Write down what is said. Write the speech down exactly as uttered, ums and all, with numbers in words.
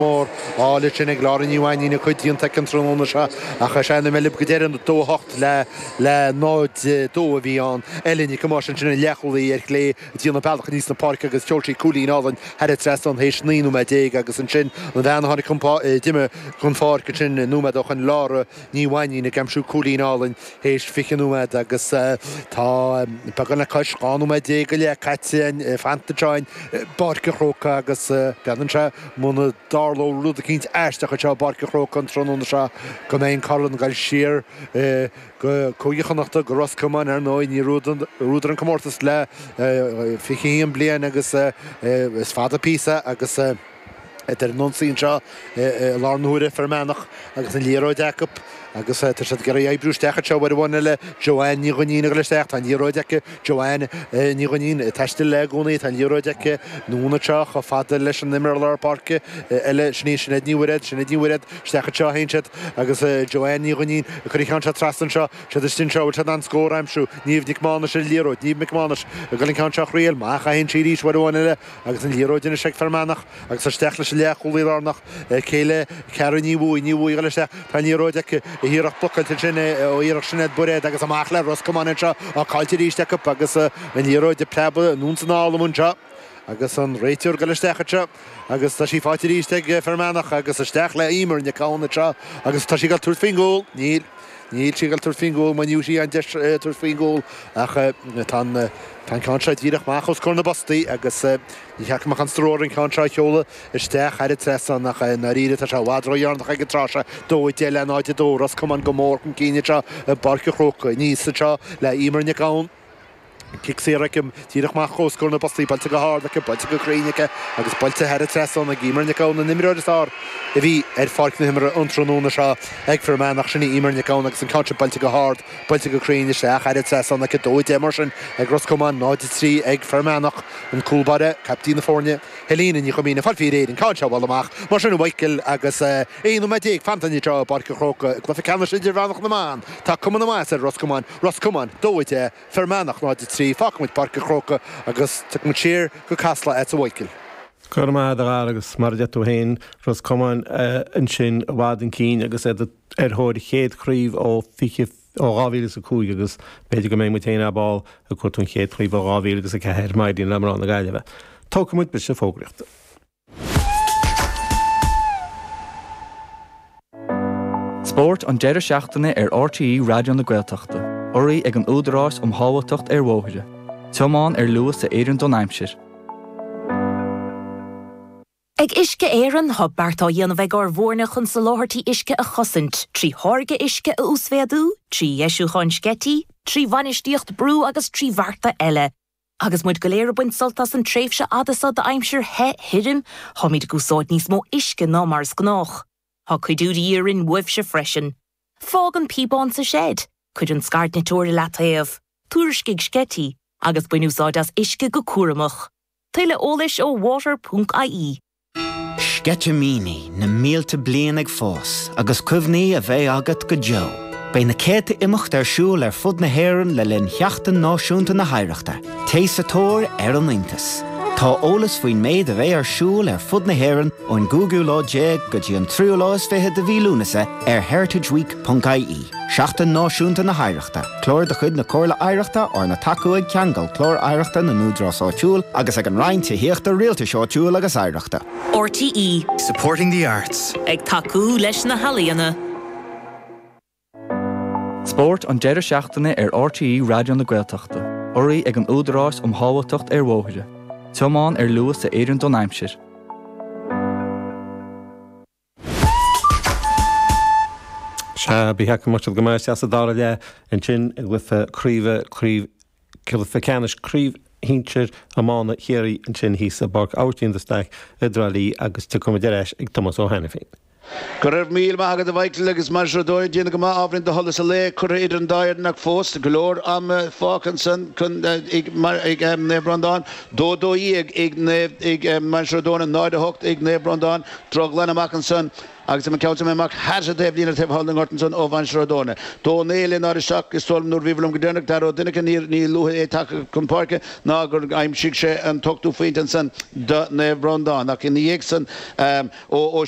Mór áille sin ag Lára Ní Mhainnín a cuid déanta aici an tráthnóna seo ach is é na meilb go deireadh dó a hocht le le náid dó a bhí ann. Ellen Nic Thomáis ansin an leathchúlaí ar chlé ag déanamh bealach aníos na páirce agus sheol sí cúilín álainn thar an trasnán théis naoi nóiméad déag agus ansin an bhean a tháinig chun d'imigh chun pháirc ansin nóiméad ó shoin Lára Ní Mhainnín ag aimsiú cúilín álainn théis fiche nóiméad agus tá beagán le cois dhá nóiméad déag go leith caite fanta anseo i bPáirc an Chrócaigh agus breathnaíonn sé muna dtarlódh rud eicínt aisteach anseo i bPáirc an Chrócaigh an tráthnóna seo go mbeidh an corn ag dul siar go Cúige Chonnachta, go Ros Comáin ar ndóigh. Níor bhuadar an comórtas le fiche a haon bliain agus is fada píosa agus iad ar an ionsaí anseo i lár na huaire Fear Manach agus an liathróid acu agus tá siad ag iarraidh oibriú isteach anseo uair amháin eile Joanne Ní Dhuinnín ag dul isteach, tá an liathróid aici Joanne Ní Dhuinnín ag taisteal léi i gcónaí, tá an liathróid aici anonn anseo chomh fada leis an imreoir lár páirce eile, sin í Sinéad Ní Mhuiréad, Sinéad Ní Mhuiréad isteach anseo a théann siad agus Joanne Ní Dhuinnín ag cur an ceann seo trasna anseo, siad istigh anseo, bhfuil siad in ann scór a aimsiú, Niamh Nic Mánais ar an liathróid, Niamh Nic Mánais ag dul an ceann seo a thriail, amach a théann sí arís uair amháin eile agus an liathróid anois ag Fear Manach agus isteach leis an leathchúlaí lárnach, céile Ceara Ní Bhuaidh, Ní Bhuaidh ag dul isteach, tá an liathróid aici, iarracht blocáilte ansin ó iarracht Sinéad Bairéad agus amach le Ros Comáin anseo, á caillte arís acu agus an liathróid ag preabadh anonn is anall amuigh anseo agus an réiteoir ag dul isteach anseo agus tá sí faighte arís ag Fear Manach agus isteach le Eimear Nic Gabhann anseo agus tá sí ag dul tabhairt faoin gcúl, níl. Níl sí ag dul tabhairt faoin gcúl, maoiniú sí an deis tabhairt faoin gcúl ach tá an tá an ceann seo díreach amach os comhair na bpostaí agus ní cheart go mbeadh an stró ar an ceann seo a sheoladh isteach thar an trasnán ach i ndáiríre tá sé i bhfad ródheireanach ag an tráth seo. Dó a deich le náid a dó, Ros Comáin go mór chun cinn anseo i bPáirc an Chrócaigh. Aníos anseo le Eimear Nic Gabhann. Cic saor aici, díreach amach os comhair na bpostaí, buailte go hard aici, buailte go cruinn aici agus buailte thar an trasnán ag Eimear Nic Gabhann, an imreoir is fearr a bhí ar pháirc na himeartha an tráthnóna seo ag Fear Manach. Sin í Eimear Nic Gabhann agus an ceann sin buailte go hard, buailte go cruinn isteach thar an trasnán aici. Dó a deich mar sin ag Ros Comáin, náid a trí ag Fear Manach. An cúl báire, caiptín na foirne, Helena Ní Chuimín ag fáil faoi réir an ceann seo a bhualadh amach mar sin a Mhichael agus aon nóiméad déag fanta anseo i bPáirc an Chrócaigh i gcluiche ceannais idirmheánach na mban. Tá cuma na maitheasa ar Ros Comáin, Ros Comáin, dó a deich, Fear Manach, náid a trí, Fágfaidh muid Páirc an Chrócaigh agus tiocfaidh muid siar go Casla agatsa a Mhichael. Go raibh maith agat a Dhara agus mar a deir tú féin, Ros Comáin ansin i bhfad chun cinn agus iad ar thóir a chéad chraobh ó fiche ó dhá mhíle is a cúig agus b'fhéidir go mbeidh muid féin ar ball ag cuartú an chéad chraobh ó dhá mhíle agus a ceathair má éiríonn le mná na Gaillimhe. Tógfaidh muid briseadh fógraíochta. Spórt an deireadh seachtaine ar R T E Raidió na Gaeltachta, urraithe ag an Údarás um Shábháilteacht ar Bhóithre. Tiomáin ar luas a oireann don aimsir. Ag Uisce Éireann tá beart á dhéanamh ag ár bhfoirne chun soláthairtí uisce a chosaint, trí tháirgeadh uisce a uasmhéadú, trí dheisiúcháin sceití, trí bhainistíocht brú agus trí bhearta eile. Agus muid go léir ag baint sult as an tréimhse fhada seo d'aimsir the thirim, táimid ag úsáid níos mó uisce ná mar is gnách. Tá cuidiú de dhíth orainn uaibhse freisin. Fág an píobán sa seid, cuir an scairdniteoir i leataobh, tuairiscigh sceití, agus bain úsáid as uisce go cúramach. Tuilleadh eolais ó water ponc I E. Sceitimíní na mílte bliain ag fás agus cuimhní a bheidh agat go deo. Beidh na céadta imeacht ar siúl ar fud na hÉireann le linn Sheachtain Náisiúnta na hOidhreachta, Téigh sa tóir ar an iontas. Tá eolas faoin méid a bheidh ar siúl ar fud na hÉireann ón gcúigiú lá déag go dtí an tríú lá is fiche de mhí Lúnasa ar heritageweek ponc I E. Seachtain Náisiúnta na hOidhreachta, Clár de chuid na Comhairle Oidhreachta arna tacú ag Ceangal Clár Oidhreachta na nÚdarás Áitiúil agus ag an Roinn Tithíochta Rialtais Áitiúil agus Oidhreachta. R T E Supporting the arts. Ag tacú leis na healaíona. Spórt an deireadh seachtaine ar R T E Raidió na Gaeltachta, urraithe ag an Údarás um Shábháilteacht ar Bhóithre. Tiomáin ar luas a oireann don aimsir. Sea, bhí go maith go maith sa dara leath ansin i gcluiche craoibhe craobh cluiche ceannais craobh shinsir iomána Chiarraí ansin thíos i bPáirc Aibhistín de Staic i dTrá Lí agus tiocfaimid ar ais ag Tomás Ó hAiniféin. Go raibh míle maith agat a Mhichael agus Mainistir Ó Dónaill ag déanamh go maith ábhairín de sholas an lae curtha idir an dá fhoireann ach fós go leor ama fágtha ansan chun ag Naomh Breandán. Dó dó dhéag ag Naomh ag Mainistir Ó Dónaill, náid a hocht ag Naomh Breandán. Drochghlan amach ansan agus an ceann sin amach thar an taobhlíne taobh thall den ngort ansan ó Mhainistir Ó Dónaill. Dó naoi le náid a seacht is dóigh liom nuair a bhíobhair liom go deireanach Dara Ó Duinnchinn níor ní luaithe é tagtha chun páirce ná gur aimsigh sé an t-ochtú phointe ansan do Naomh Breandán ach ina dhiaidh san ó ó